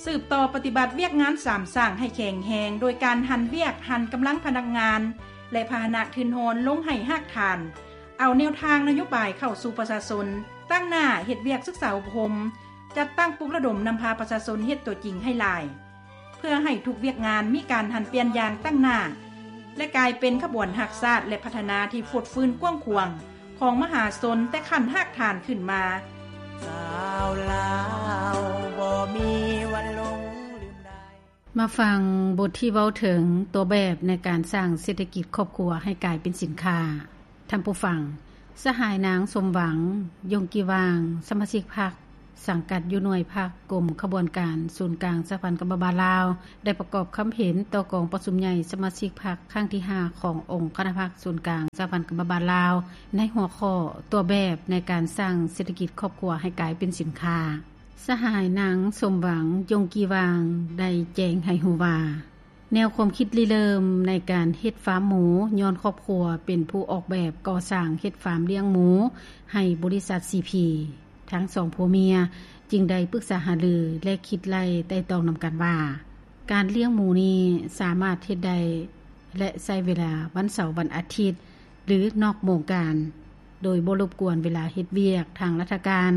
ສືບຕໍ່ປະຕິບັດວຽກງານສາມສ້າງໃຫ້ແຂງແຮງ ໂດຍການຫັນວຽກ, ຫັນກຳລັງພະນັກງານ ແລະ ພາຫະນະທຶນຮອນລົງໃຫ້ຮາກຖານ, ເອົາແນວທາງນະໂຍບາຍເຂົ້າສູ່ປະຊາຊົນ, ຕັ້ງໜ້າເຮັດວຽກສຶກສາອົບຮົມ, ຈັດຕັ້ງປຸກລະດົມນຳພາປະຊາຊົນເຮັດຕົວຈິງໃຫ້ຫຼາຍ, ເພື່ອໃຫ້ທຸກວຽກງານມີການຫັນປ່ຽນຢ່າງຕັ້ງໜ້າ ແລະ ກາຍເປັນຂະບວນຮັກຊາດ ແລະ ພັດທະນາທີ່ຟົດຟື້ນກວ້າງຂວາງ ຂອງມະຫາຊົນແຕ່ຂັ້ນຮາກຖານຂຶ້ນມາ. ຊາວລາວບໍ່ມີວັນຫຼົງລືມໄດ້. ມາຟັງບົດທີ່ເວົ້າເຖິງຕົວແບບໃນການສ້າງເສດຖະກິດຄອບຄົວໃຫ້ກາຍເປັນສິນຄ້າ. ທ່ານຜູ້ຟັງ, ສະຫາຍນາງ ສົມຫວັງ ຍົງກີຫວ່າງ ສະມາຊິກພັກ ສັງກັດຢູ່ໜ່ວຍພັກ ກົມຂະບວນການ ສູນກາງສະຫະພັນກຳມະບານລາວ ໄດ້ປະກອບຄຳເຫັນຕໍ່ກອງປະຊຸມໃຫຍ່ສະມາຊິກພັກຄັ້ງທີຫ້າ ຂອງອົງຄະນະພັກສູນກາງສະຫະພັນກຳມະບານລາວ ໃນຫົວຂໍ້ຕົວແບບໃນການສ້າງເສດຖະກິດຄອບຄົວໃຫ້ກາຍເປັນສິນຄ້າ. ສະຫາຍນາງ ສົມຫວັງ ຍົງກີຫວ່າງ ໄດ້ແຈ້ງໃຫ້ຮູ້ວ່າ ແນວຄວາມຄິດລິເລີ່ມໃນການເຮັດຟາມໝູ ຍ້ອນຄອບຄົວເປັນຜູ້ອອກແບບກໍ່ສ້າງເຮັດຟາມລ້ຽງໝູໃຫ້ບໍລິສັດ ຊີພີ. ທັງສອງຜົວເມຍຈຶ່ງໄດ້ປຶກສາຫາລື ແລະ ຄິດໄລ່ໄຕ່ຕອງນຳກັນວ່າ ການລ້ຽງໝູນີ້ສາມາດເຮັດໄດ້ ແລະ ໃຊ້ເວລາວັນເສົາວັນອາທິດ ຫຼື ນອກໂມງການ ໂດຍບໍ່ລົບກວນເວລາເຮັດວຽກທາງລັດຖະການ.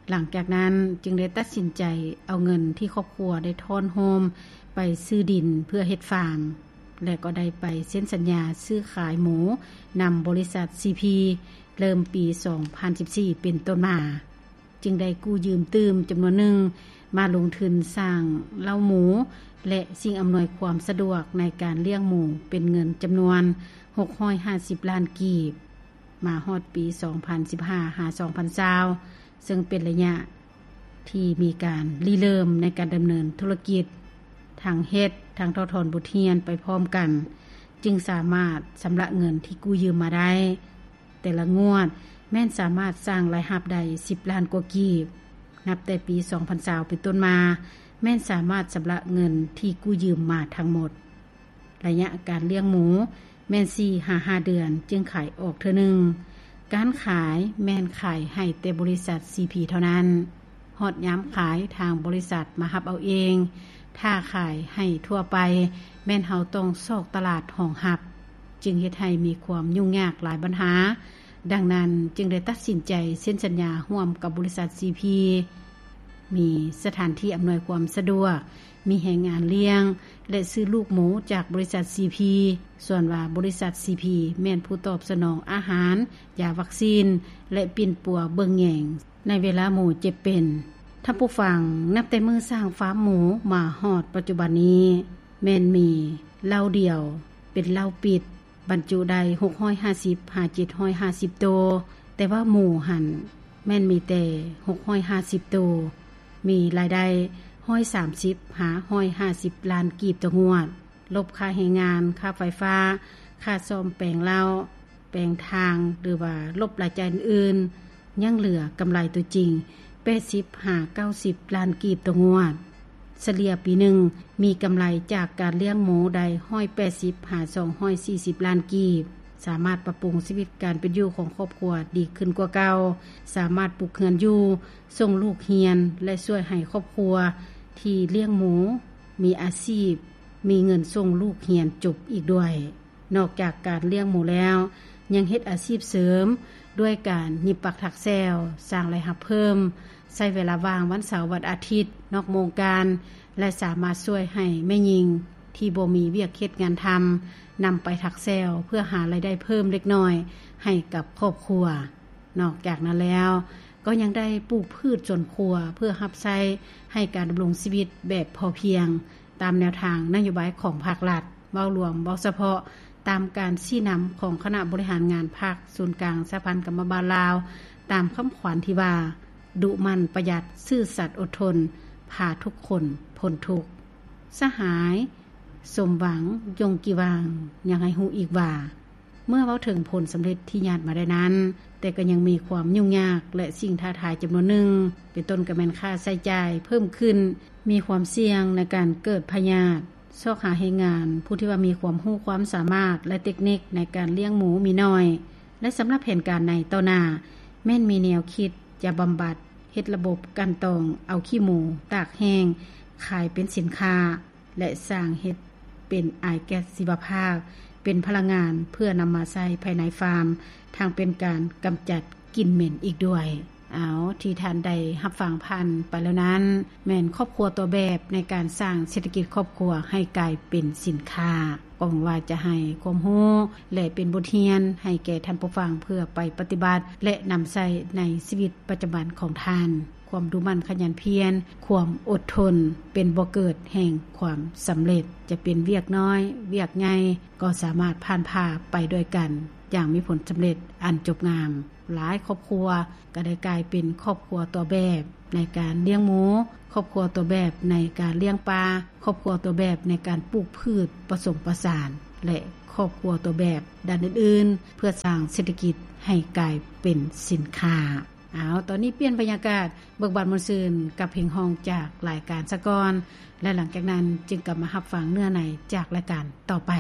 ຫຼັງຈາກນັ້ນຈຶ່ງໄດ້ຕັດສິນໃຈເອົາເງິນທີ່ຄອບຄົວໄດ້ທ້ອນໂຮມໄປຊື້ດິນເພື່ອເຮັດຟາມ ແລະ ກໍໄດ້ໄປເຊັນສັນຍາຊື້ຂາຍໝູນຳບໍລິສັດ ຊີພີ ເລີ່ມປີສອງພັນສິບສີ່ ເປັນຕົ້ນມາ. ຈຶ່ງໄດ້ກູ້ຢືມຕື່ມຈຳນວນໜຶ່ງມາລົງທຶນສ້າງເລົ້າໝູ ແລະ ສິ່ງອຳນວຍຄວາມສະດວກໃນການລ້ຽງໝູເປັນເງິນຈຳນວນຫົກຮ້ອຍຫ້າສິບລ້ານກີບ ມາຮອດປີສອງພັນສິບຫ້າ ຫາ ສອງພັນຊາວ ເຊິ່ງເປັນໄລຍະທີ່ມີການລິເລີ່ມໃນການດຳເນີນທຸລະກິດ, ທັງເຮັດ ທັງຖອດຖອນບົດຮຽນໄປພ້ອມກັນ, ຈຶ່ງສາມາດຊຳລະເງິນທີ່ກູ້ຢືມມາໄດ້. ແຕ່ລະງວດແມ່ນສາມາດສ້າງລາຍຮັບໄດ້ສິບລ້ານກວ່າກີບ. ນັບແຕ່ປີສອງພັນຊາວເປັນຕົ້ນມາ, ແມ່ນສາມາດຊຳລະເງິນທີ່ກູ້ຢືມມາທັງໝົດ. ໄລຍະການລ້ຽງໝູແມ່ນສີ່ຫາຫ້າເດືອນຈຶ່ງຂາຍອອກເທື່ອໜຶ່ງ. ການຂາຍແມ່ນຂາຍໃຫ້ແຕ່ບໍລິສັດ ຊີພີ ເທົ່ານັ້ນ. ຮອດຍາມຂາຍ ທາງບໍລິສັດມາຮັບເອົາເອງ. ຖ້າຂາຍໃຫ້ທົ່ວໄປ ແມ່ນເຮົາຕ້ອງຊອກຕະຫຼາດຮອງຮັບ, ຈຶ່ງເຮັດໃຫ້ມີຄວາມຫຍຸ້ງຍາກຫຼາຍບັນຫາ. ດັ່ງນັ້ນຈຶ່ງໄດ້ຕັດສິນໃຈເຊັນສັນຍາຮ່ວມກັບບໍລິສັດ ຊີພີ ມີສະຖານທີ່ອຳນວຍຄວາມສະດວກ, ມີແຮງງານລ້ຽງ ແລະ ຊື້ລູກໝູຈາກບໍລິສັດ ຊີພີ ສ່ວນວ່າບໍລິສັດ ຊີພີ ແມ່ນຜູ້ຕອບສະໜອງອາຫານ, ຢາວັກຊີນ ແລະ ປິ່ນປົວເບິ່ງແຍງໃນເວລາໝູເຈັບເປັນ. ທ່ານຜູ້ຟັງ, ນັບແຕ່ມື້ສ້າງຟາມໝູມາຮອດປັດຈຸບັນນີ້ ແມ່ນມີເລົ້າດຽວເປັນເລົ້າປິດ ບັນຈຸໄດ້ຫົກຮ້ອຍຫ້າສິບຫາເຈັດຮ້ອຍຫ້າສິບໂຕ, ແຕ່ວ່າໝູຫັ້ນແມ່ນມີແຕ່ຫົກຮ້ອຍຫ້າສິບໂຕ, ມີລາຍໄດ້ຮ້ອຍສາມສິບຫາຮ້ອຍຫ້າສິບລ້ານກີບຕໍ່ງວດ, ລົບຄ່າແຮງງານ, ຄ່າໄຟຟ້າ, ຄ່າສ້ອມແປງເລົ້າ, ແປງທາງ ຫຼືວ່າລົບລາຍຈ່າຍອື່ນໆ, ຍັງເຫຼືອກຳໄລຕົວຈິງແປດສິບຫາເກົ້າສິບລ້ານກີບຕໍ່ງວດ. ສະເລ່ຍປີໜຶ່ງມີກຳໄລຈາກການລ້ຽງໝູໄດ້ຮ້ອຍແປດສິບຫາສອງຮ້ອຍສີ່ສິບລ້ານກີບ, ສາມາດປັບປຸງຊີວິດການເປັນຢູ່ຂອງຄອບຄົວດີຂຶ້ນກວ່າເກົ່າ, ສາມາດປຸກເຮືອນຢູ່, ສົ່ງລູກຮຽນ ແລະ ຊ່ວຍໃຫ້ຄອບຄົວທີ່ລ້ຽງໝູມີອາຊີບ, ມີເງິນສົ່ງລູກຮຽນຈົບອີກດ້ວຍ. ນອກຈາກການລ້ຽງໝູແລ້ວ, ຍັງເຮັດອາຊີບເສີມດ້ວຍການຫຍິບປັກຖັກແຊວ, ສ້າງລາຍຮັບເພີ່ມ, ໃຊ້ເວລາວ່າງວັນເສົາວັນອາທິດນອກໂມງການ ແລະ ສາມາດຊ່ວຍໃຫ້ແມ່ຍິງທີ່ບໍ່ມີວຽກເຮັດງານທຳ ນຳໄປຖັກແຊວເພື່ອຫາລາຍໄດ້ເພີ່ມເລັກນ້ອຍໃຫ້ກັບຄອບຄົວ. ນອກຈາກນັ້ນແລ້ວ, ກໍຍັງໄດ້ປູກພືດສວນຄົວເພື່ອຮັບໃຊ້ໃຫ້ການດຳລົງຊີວິດແບບພໍພຽງ ຕາມແນວທາງນະໂຍບາຍຂອງພາກລັດ, ເວົ້າລວມ, ເວົ້າສະເພາະ, ຕາມການຊີ້ນຳຂອງຄະນະບໍລິຫານງານພັກ, ສູນກາງສະຫະພັນກຳມະບານລາວ, ຕາມຄຳຂວັນທີ່ວ່າ ດຸໝັ່ນ, ປະຢັດ, ຊື່ສັດ, ອົດທົນ, ພາທຸກຄົນພົ້ນທຸກ. ສະຫາຍ ສົມຫວັງ ຍົງກີຫວ່າງ ຍັງໃຫ້ຮູ້ອີກວ່າ ເມື່ອເວົ້າເຖິງຜົນສຳເລັດທີ່ຍາດມາໄດ້ນັ້ນ, ແຕ່ກໍຍັງມີຄວາມຫຍຸ້ງຍາກ ແລະ ສິ່ງທ້າທາຍຈຳນວນໜຶ່ງ, ເປັນຕົ້ນກໍແມ່ນຄ່າໃຊ້ຈ່າຍເພີ່ມຂຶ້ນ, ມີຄວາມສ່ຽງໃນການເກີດພະຍາດ, ຊອກຫາແຮງງານຜູ້ທີ່ວ່າມີຄວາມຮູ້ຄວາມສາມາດ ແລະ ເຕັກນິກໃນການລ້ຽງໝູມີໜ້ອຍ, ແລະ ສຳລັບແຜນການໃນຕໍ່ໜ້າ ແມ່ນມີແນວຄິດຈະບຳບັດ ເຮັດລະບົບກັ່ນຕອງເອົາຂີ້ໝູຕາກແຫ້ງ ຂາຍເປັນສິນຄ້າ ແລະ ສ້າງເຮັດເປັນອາຍແກັສຊີວະພາກ ເປັນພະລັງງານເພື່ອນຳມາໃຊ້ພາຍໃນຟາມ ທັງເປັນການກຳຈັດກິ່ນເໝັນອີກດ້ວຍ. ເອົາ ທີ່ທ່ານໄດ້ຮັບຟັງຜ່ານໄປແລ້ວນັ້ນ ແມ່ນຄອບຄົວຕົວແບບໃນການສ້າງເສດຖະກິດຄອບຄົວໃຫ້ກາຍເປັນສິນຄ້າ ກໍຫວັງວ່າຈະໃຫ້ຄວາມຮູ້ ແລະ ເປັນບົດຮຽນໃຫ້ແກ່ທ່ານຜູ້ຟັງ ເພື່ອໄປປະຕິບັດ ແລະ ນຳໃຊ້ໃນຊີວິດປະຈຳວັນຂອງທ່ານ. ຄວາມດຸໝັ່ນຂະຫຍັນພຽນ, ຄວາມອົດທົນ ເປັນບໍ່ເກີດແຫ່ງຄວາມສຳເລັດ. ຈະເປັນວຽກນ້ອຍ, ວຽກໃຫຍ່ ກໍສາມາດຜ່ານຜ່າໄປດ້ວຍກັນ ຢ່າງມີຜົນສຳເລັດອັນຈົບງາມ. ຫຼາຍຄອບຄົວກໍໄດ້ກາຍເປັນຄອບຄົວຕົວແບບໃນການລ້ຽງໝູ, ຄອບຄົວຕົວແບບໃນການລ້ຽງປາ, ຄອບຄົວຕົວແບບໃນການປູກພືດປະສົມປະສານ ແລະ ຄອບຄົວຕົວແບບດ້ານອື່ນໆ ເພື່ອສ້າງເສດຖະກິດໃຫ້ກາຍເປັນສິນຄ້າ. ເອົາ ຕອນນີ້ປ່ຽນບັນຍາກາດ ເບີກບານມ່ວນຊື່ນກັບເພງຮ້ອງຈາກລາຍການສາກ່ອນ ແລະ ຫຼັງຈາກນັ້ນຈຶ່ງກັບມາຮັບຟັງເນື້ອໃນຈາກລາຍການຕໍ່ໄປ.